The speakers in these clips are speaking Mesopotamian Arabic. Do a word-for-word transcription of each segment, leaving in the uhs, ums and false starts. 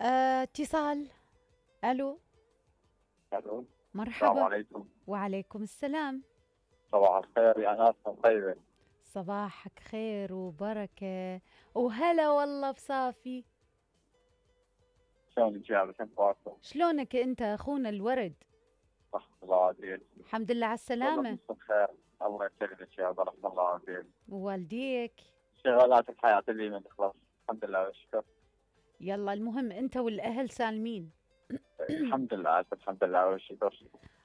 آه، اتصال. الو. الو. السلام مرحبا. عليكم. وعليكم السلام. صباح الخير يا ناس طيبة. صباحك خير وبركة وهلا والله بصافي. شلونك يا بس انت؟ شلونك انت اخونا الورد؟ صح الله عافيك. الحمد لله على والله السلامة. بس خير. الله يسلمك يا رحمة الله عافيك. ووالديك. شغالات الحياة اللي من تخلص الحمد لله والشكر. يلا المهم انت والاهل سالمين. الحمد لله الحمد لله والشكر.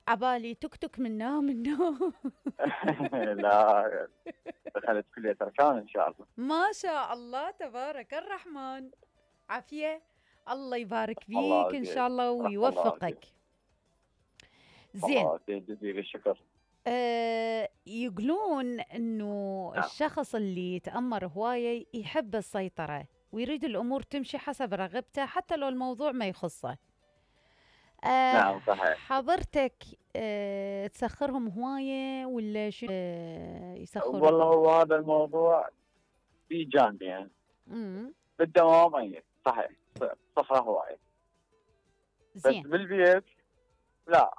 عبالي تكتك من نوم من نوم. لا دخلت كلية أركان إن شاء الله. ما شاء الله تبارك الرحمن. عافية. الله يبارك الله فيك إن عافيك. شاء الله الله ويوفقك. عافيك. زين. الله عافيك جزيل الشكر. آه يقولون إنه نعم. الشخص اللي يتأمر هواية يحب السيطرة ويريد الأمور تمشي حسب رغبته حتى لو الموضوع ما يخصه. آه نعم صحيح. حضرتك آه تسخرهم هواية ولا شو آه يسخرون؟ والله هو هذا الموضوع في جانبين. امم بالدوام أي صحيح صخرة هواية. بس زين. بالبيت لا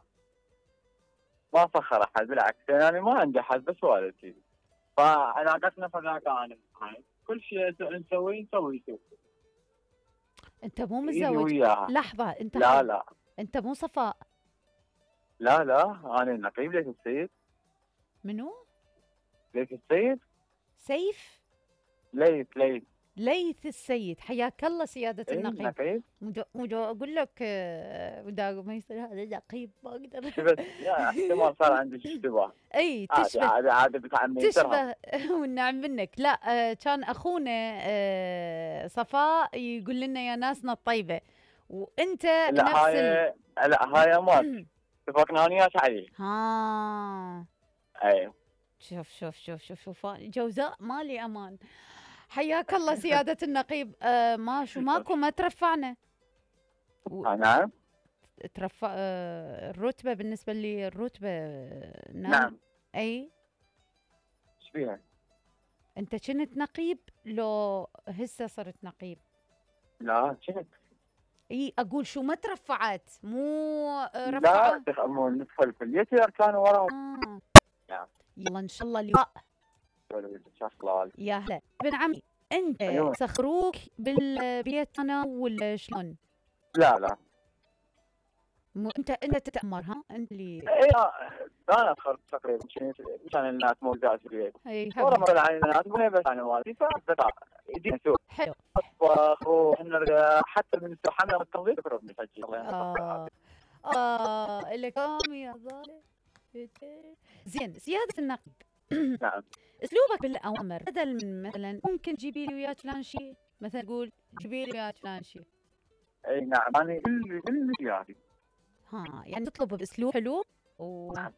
ما فخر احد بالعكس يعني ما عندي احد بس والدتي. فعلاقتنا فذاك انا هاي كل شيء نسويه نسوي سوا. انت مو إيدي متزوج؟ وياها. لحظة انت لا حر... لا انت مو صفاء؟ لا لا انا نقيب ليث السيد. منو؟ ليث السيد. سيف؟ ليث ليث ليث السيد. حياك الله سيادة ايه النقيب. نقيب. ودو ودو اقول لك آه، ودا ما يصير هذا نقيب ما اقدر. شفت يا احتمال صار عندك اشتباه. اي عادي تشبه. عادي عادي بتعمي تشبه. والنعم منك. لا آه، كان اخونا آه، صفاء يقول لنا يا ناسنا الطيبة وانت لا نفس هاي ال... لا هاي ما اتفقنا انا وياك عليه. ها. اي شوف شوف شوف شوف شوف جوزاء مالي امان. حياك الله سيادة النقيب. آه ما شو ماكو ما ترفعنا. و... نعم. ترفع آه الرتبة بالنسبة لي الرتبة آه نعم. نعم. اي ايش فيها؟ انت كنت نقيب لو هسه صرت نقيب؟ لا كنت. اي اقول شو ما ترفعت مو آه لا رفعة. تخمون ندخل كليتي كانوا وراهم. آه. نعم. يلا ان شاء الله لقاء. شخلال. يا هلا ابن عمي. انت أيوة. سخروك بالبيت انا ولا شلون؟ لا لا مو انت انت تتأمر ها انت اللي اي انا ادخل تقريبا كان الناس موجودات في البيت. اي ورا مر علي الناس مو بس انا والدي فبقى يدينا سوق. حلو. طبخ ونرجع حتى من الحمله والتنظيف تقرب نسجل. اه اه لكم يا ظالم. زين سيادة النقيب. نعم. اسلوبك بالاوامر بدل من مثلا ممكن تجيبي لي وياك فلان شيء مثلا تقول جيبي لي وياك فلان شيء. اي نعم انا كل كل يعني. ها يعني تطلب باسلوب حلو وحتى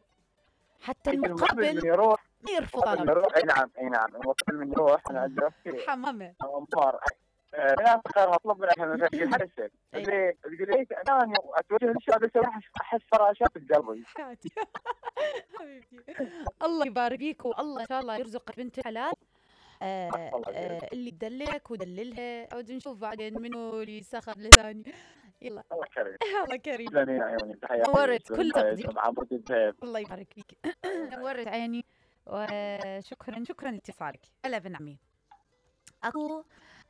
المقابل المقابل من يروح ما يرفض من طلب. يروح اي نعم اي نعم المقابل من يروح انا ادرك حمامة. امار انا خير اطلب من احنا نسجل حد الشيء. أي. تقول لي انا اتوجه للشباب احس فراشات بقلبي. حياتي. حبيبتي الله يبارك فيك والله ان شاء الله يرزقك بنت الحلال. آه آه اللي تدللك ودللها عود نشوف بعدين منو اللي سخر لثاني. يلا الله كريم. الله كريم. تسلمين عيوني تحياتي. نورت كل تقدير. عبود الذهب. الله يبارك فيك. نورت عيني وشكرا شكرا لاتصالك. هلا بن عمي. اكو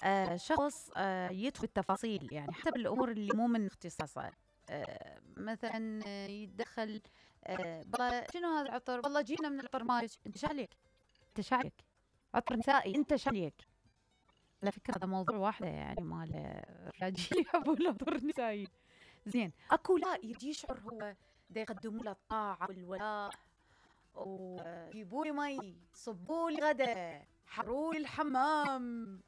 آه شخص آه يدخل التفاصيل يعني حتى بالامور اللي مو من اختصاصه. آه مثلا آه يتدخل آه والله شنو هذا العطر والله جينا من العطر مالك انت شاليك انت شاليك عطر نسائي انت شاليك. على فكره هذا موضوع واحده يعني مال الرجال يحبوا العطر نسائي. زين اكو لا يجي يشعر هو دا يقدموا له الطاعه والولاء ويجيبوا لي مي صبوا لي غدا حروا لي الحمام